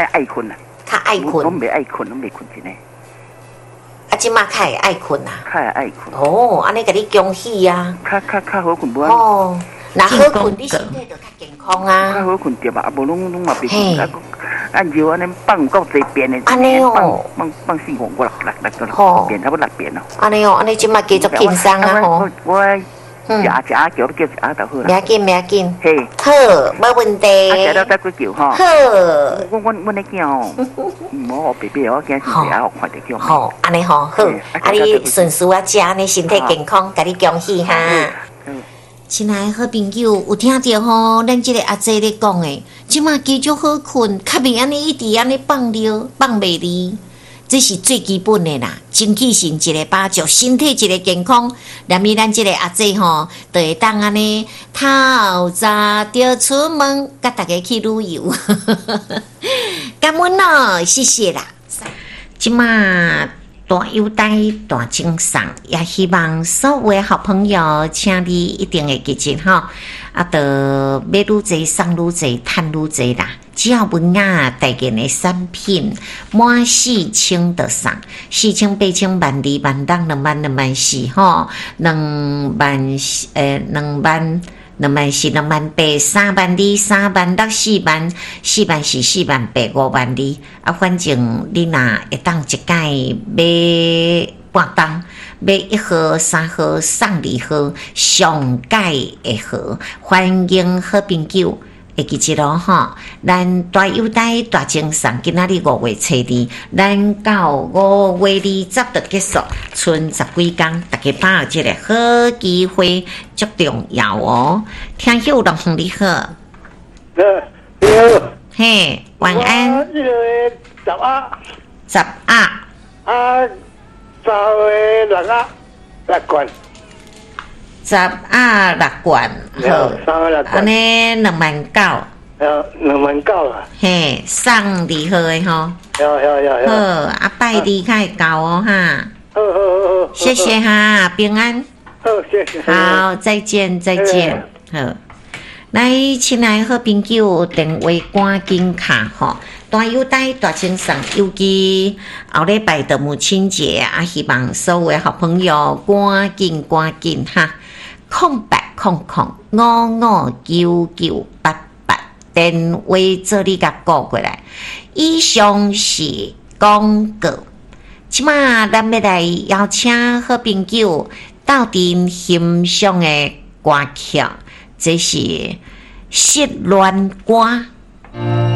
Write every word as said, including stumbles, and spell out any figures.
較愛睏啊。較愛我睏，袂愛睏，攏袂睏真的，啊，這馬較會愛睏啊。較會愛睏，哦，按呢共你恭喜啊！較較較好睏無按，哦，若好睏，你身體就較健康較啊。好睏著吧，啊無攏攏嘛袂嘿睏，啊按尿按呢放有夠濟遍的，按呢哦放放四五五六六六六吼遍，差不多六遍咯。按呢哦，按呢這馬繼續輕鬆啊吼。我我嗯食食叫要叫食就好啦。袂要緊，袂要緊。嘿，好，無問題。啊食了再閣叫吼。好，我阮阮的囝吼，毋好予白白，我驚是食予看著叫。吼，按呢吼好，啊你順序啊食，按呢身體健康，共你恭喜哈。嗯。親愛的好朋友，有聽著吼？咱這个阿姐咧講的，這馬加足好睏，較袂按呢一直按呢放尿放袂離，這是最基本的啦。精氣神一个飽足，身體一个健康，連咪咱這个阿姐吼，就會當按呢透早就出門，佮大家去旅遊。感恩哦，謝謝啦。這馬大優待大贈送，也希望所有的好朋友，請你一定會記得吼，啊，著買愈濟送愈濟，趁愈濟啦。只要文雅代言的產品滿四千就送，四千、八千、萬二、萬六、兩萬、兩萬四吼，兩萬欸兩萬。兩萬四、兩萬八、三萬二、三萬六、四萬、四萬四、四萬八、五萬二。啊，反正你若會當一擺買半擔，買一盒、三盒送二盒，上蓋會好。歡迎好朋友會記得咯吼，咱大優待大贈送，今仔日五月初二，咱到五月二十就結束，賰十幾工，大家把握這个好機會，足重要哦。聽友龍你好，你好，嘿，晚安。我這個十仔，十仔，啊，三月六仔，六罐。十仔六罐，好，按呢兩萬九，兩萬九啊，嘿，送二號的吼，有有有有，好，啊拜二較會到哦哈，好好好好，謝謝哈，平安，好，謝謝，好，再見再見，好，來，親愛好朋友，電話趕緊敲吼，大優待大贈送，尤其後禮拜的母親節啊，希望所有的好朋友趕緊趕緊哈。空八空空五五九九八八，電話做你共顧過來。以上是廣告。這馬咱欲來邀請好朋友鬥陣欣賞的歌曲，這是失戀歌。